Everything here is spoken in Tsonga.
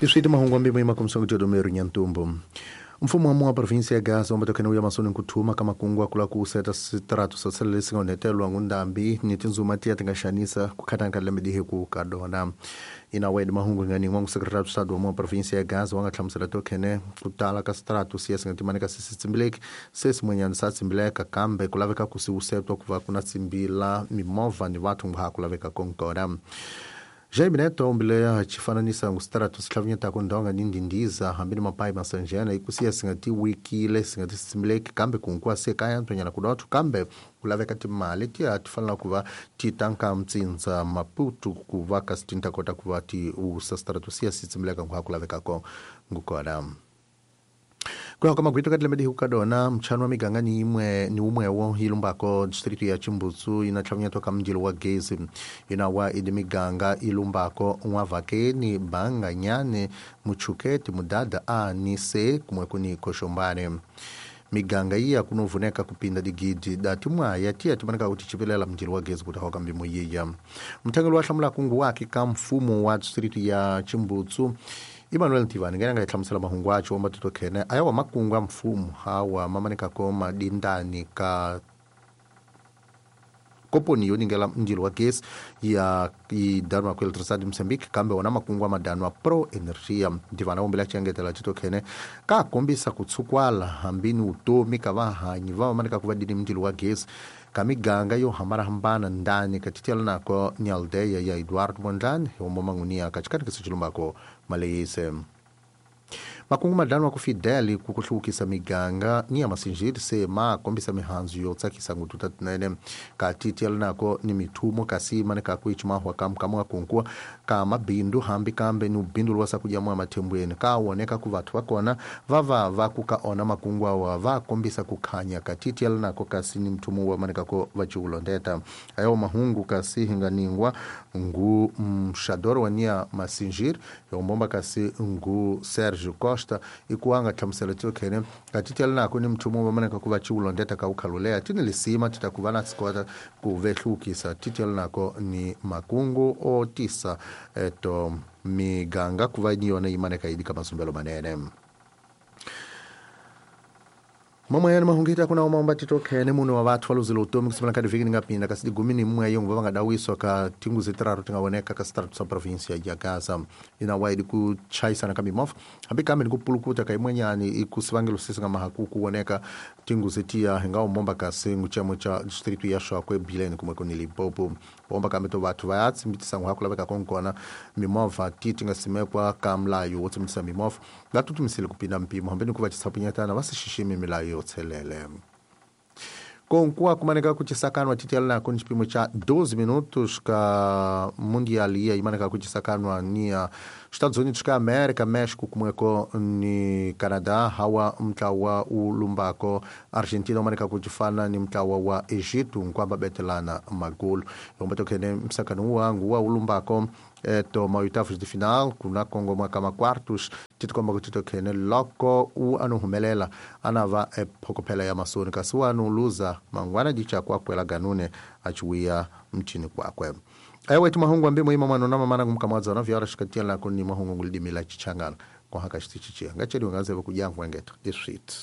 Iswiti mahungu ambimo imakumsongo jodomero nyantumbo. Mfumo wa mua província ya Gaza ombatokene uya masoni nkuthuma ka makungu akula ku seta sitrato swa lesi nga onhetelwa ngundambi ni tindzuma tiya ti nga xanisa ku khatana ka lembe dihe ku ka dona. Ina wed mahungu nga ningwa ngu secretário de Estado wa mua província ya Gaza wa nga hlamusela tokhene ku tala ka sitrato siya singa timaneka sisi tsimbileki se simwenyana sa tsimbileka kambe ku laveka ku si usetwa ku va ku na tsimbila mimovha ni vathu nga ha ku laveka konkona. Jaime Neto ombile chifananisa ngustrato sihlavunyetako ndonga ni ndindiza hambi ni mapayi masanjena ikusiya singatiwikile singatitsimbileki kambe kunkuwa se kaya ntwanyana kudotho kambe kulaveka timali tiya ti fanela ku va ti tanka mtsindza Maputo ku va kasi ti ta kota ku va ti usa strato siya si tsimbileka nkuha ku lavekako ngukona. Kuya ka magwito ka tilembe dihuka dona mchano wa miganga ni imwe ni umwewo ilumbako distrito ya Chimbutsu ina hlavunyetwa ka mndilo wa gezi ina wa idi miganga ilumbako Nwavakeni Banganyane Muchuketi Mudada a ni se kumwe kuni Koshombane. Miganga iya kunovuneka kupinda digidi dati mwaya tiya timaneka kuti chipelela mndilo wa gezi kuti hoka mbimo yiya. Mthangelo wa hlamula kungu wake ka mfumo wa distrito ya Chimbutsu Emmanuel Ntivani ngena ngayihlamusela mahungu acho ombatito khene ayawa makungu a mfumo hawa mamaneka ko madindani ka koponi yo ningela mndilo wa gesi ya idanwa ku Eletricidade de Moçambique kambe wona makungu a madanwa Pro Energia. Ntivani ombela chiengetela chito khene ka kombisa kutsukwala hambini utomi ka vahanyi va mamaneka ku va dini mndilo wa gesi ka miganga yo hambanahambana ndani katitela nako ni aldeia ya Eduardo Mondlane yomo mangunia katikati kisichilumbako maleyise. Makungu madanwa ku Fidel ku kuhlukisa miganga ni ya masinjiri se ma kombisa mihanzu yo tsakisa ngututa tinene katitela nako ni mithumo kasi maneka ku ichimahwa kamkamwa kunkuwa ka mabindu hambi kambe ni ubindu lwasa kuja mwa mathembweni ka woneka ku vathu vakona vava va ku ka ona makungu awa va kombisa kukhanya katitela nako kasi ni mthumo wa maneka ko vachiulondeta ayo mahungu kasi hinganingwa ngu mxadoro wa nia masinjiri yombomba kasi ngu Sergio Costa ikuanga hlamusela tsokhene katitela nako ni mthumo wa maneka ku vachiulondeta ka ukhalulea tini lisima titakuva na sikota ku vehlukisa titela nako ni makungu o tisa eto miganga kuva ni yona imaneka idika masumbelo manene. Mama yana mahungita kuna omba titokhene muno wa vathu valuzile utomi kusipana ka diviki ningapinda kasi digumi ni mmwe yongo va nga dawiswa ka tinguzi tiraru tingawoneka ka sitratu sa província ya Gaza ina waidi ku chayisana ka mimovha hambi kambe ni ku pulukuta ka imwenyani ikusivangelo sisi nga mahaku kuwoneka tinguzi tiya hinga omomba kasi nguchemo cha distrito ya Shokwe Bilene kumwe kuni Limpopo omba kambe to vathu va ya tsimbitisa nguha ku laveka konkona mimovha ti ti nga simekwa ka mlayo wo tsimbitisa mimovha va tutumisile kupinda mpimo hambi ni ku va chisapunyetana va si xiximi milayo tselele. Konkuwa kumaneka kuchisakanwa titela nako ni chipimo cha 12 minutos ka mundial iya imaneka kuchisakanwa ni ya Estados Unidos ka América, México kumweko ni Canadá, hawa mtlawa ulumbako Argentina umaneka kuchifana ni mtlawa wa Egito nkwamba betelana magulu. Yombatokene msakano wangu wa ulumbako eto maoitavos de final kuna Congo mwaka makwartos titikomba kutitokene loko u anuhumelela anava ephokopela ya masoni kasi wanu luza mangwana dicha kwakwela ganune achiwiya mchini kwakwe. Ewe mahungu ambi muima mwana na mamana ngumkamwadza na vyara shikatia lako ni mahungu ngulidimila chichangana kwa haka chitichichia ngacheli ngazeve kujangwa ngeta this shit.